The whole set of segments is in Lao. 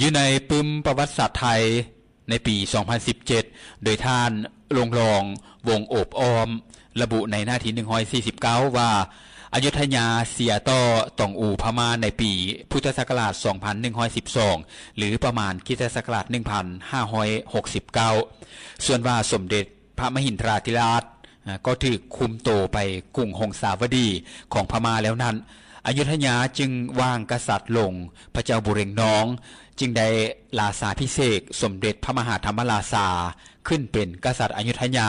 ຢູ່ໃນປຶ້ມປະຫວັດສາດໄທ ໃນປີສອງພັນສິບເຈັດ ໂດຍທ່ານ ລົງລອງ ວົງໂອບອ້ອມ ລະບຸໃນໜ້າທີໜຶ່ງຮ້ອຍສີ່ສິບເກົ້າ ວ່າ ອະຍຸດທະຍາເສຍຕໍ່ຕອງອູພະມ້າໃນປີພຸດທະສັກກະລາດສອງພັນໜຶ່ງຮ້ອຍສິບສອງ ຫຼື ປະມານຄຣິສຕະສັກກະລາດໜຶ່ງພັນຫ້າຮ້ອຍຫົກສິບເກົ້າ. ສ່ວນວ່າສົມເດັດພະມະຫິນທະລາທິລາດ ກໍຖືກຄຸມໂຕໄປກຸງຫົງສາວະດີຂອງພະມ້າແລ້ວນັ້ນ, ອະຍຸດທະຍາຈຶ່ງວາງກະສັດລົງ ພະເຈົ້າບູເລັງນອງ ຈຶ່ງໄດ້ລາຊາພິເສກສົມເດັດພະມະຫາທຳມະລາຊາ ຂຶ້ນເປັນກະສັດອະຍຸດທະຍາ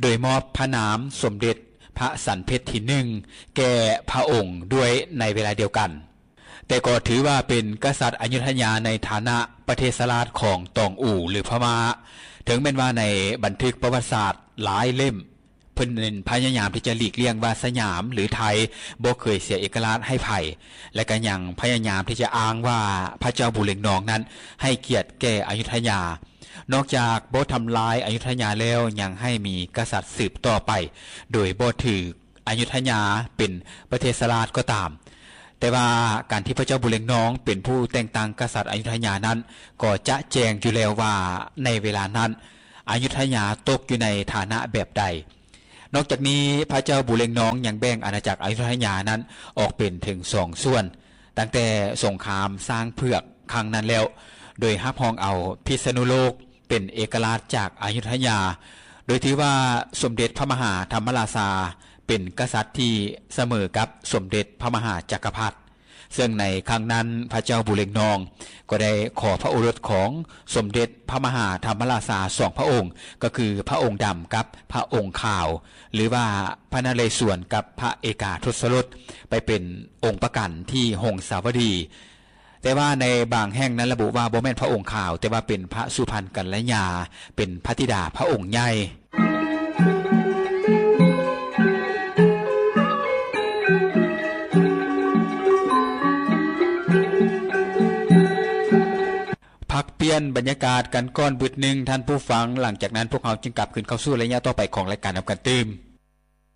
ໂດຍມອບພະນາມສົມເດັດພະສັນເພັດທີໜຶ່ງ ແກ່ພະອົງດ້ວຍໃນເວລາດຽວກັນ. ແຕ່ກໍຖືວ່າເປັນກະສັດອະຍຸດທະຍາໃນຖານະປະເທດສະລາດຂອງຕອງອູ ຫຼື ພະມ້າ, ເຖິງແມ່ນວ່າໃນບັນທຶກປະຫວັດສາດຫຼາຍເຫຼັ້ມ ເພິ່ນພະຍາຍາມທີ່ຈະຫຼີກລ່ຽງວ່າສະຫຍາມ ຫຼື ໄທ ບໍ່ເຄີຍເສຍເອກະລາດໃຫ້ໃຜ ແລະ ກໍຍັງພະຍາຍາມທີ່ຈະອ້າງວ່າພະເຈົ້າບູເລັງນອງນັ້ນໃຫ້ກຽດແກ່ອະຍຸດທະຍາ. ນອກຈາກບໍ່ທຳລາຍອະຍຸດທະຍາແລ້ວ ຍັງໃຫ້ມີກະສັດສືບຕໍ່ໄປ ໂດຍບໍ່ຖືກອະຍຸດທະຍາເປັນປະເທດສະລາດກໍຕາມ. ແຕ່ວ່າການທີ່ພະເຈົ້າບູເລັງນອງເປັນຜູ້ແຕ່ງຕັ້ງກະສັດອະຍຸດທະຍານັ້ນ ກໍຈະແຈ້ງຢູ່ແລ້ວວ່າໃນເວລານັ້ນ ອະຍຸດທະຍາຕົກຢູ່ໃນຖານະແບບໃດ. ນອກຈາກນີ້ ພະເຈົ້າບູເລັງນອງຍັງແບ່ງອານາຈັກອະຍຸດທະຍານັ້ນອອກເປັນເຖິງສອງສ່ວນ ຕັ້ງແຕ່ສົງຄາມຊ້າງເຜືອກຄັ້ງນັ້ນແລ້ວ ໂດຍຮັບຮອງເອົາພິສະນຸໂລກເປັນເອກະລາດຈາກອະຍຸດທະຍາ, ໂດຍຖືວ່າສົມເດັດພະມະຫາທຳມະລາຊາເປັນກະສັດທີ່ສະເໝີກັບສົມເດັດພະມະຫາຈັກກະພັດ. ເຊິ່ງໃນຄັ້ງນັ້ນ ພະເຈົ້າບູເລັງນອງກໍໄດ້ຂໍພະໂອລົດຂອງສົມເດັດພະມະຫາທຳມະລາຊາສອງພະອົງ ກໍຄືພະອົງດຳກັບພະອົງຂາວ ຫຼືວ່າພະນະເລສວນກັບພະເອກາທົດສະລົດ ໄປເປັນອົງປະກັນທີ່ຫົງສາວະດີ. ແຕ່ວ່າໃນບາງແຫ່ງນັ້ນລະບຸວ່າບໍ່ແມ່ນພະອົງຂາວ, ແຕ່ວ່າເປັນພະສຸພັນກັນລະຍາ ເປັນພະທິດາພະອົງໃຫຍ່. ພັກປ່ຽນບັນຍາກາດກັນກ່ອນບຶດໜຶ່ງ ທ່ານຜູ້ຟັງ, ຫຼັງຈາກນັ້ນພວກເຮົາຈຶ່ງກັບຄືນເຂົ້າສູ່ໄລຍະຕໍ່ໄປຂອງລາຍການນຳກັນຕື່ມ.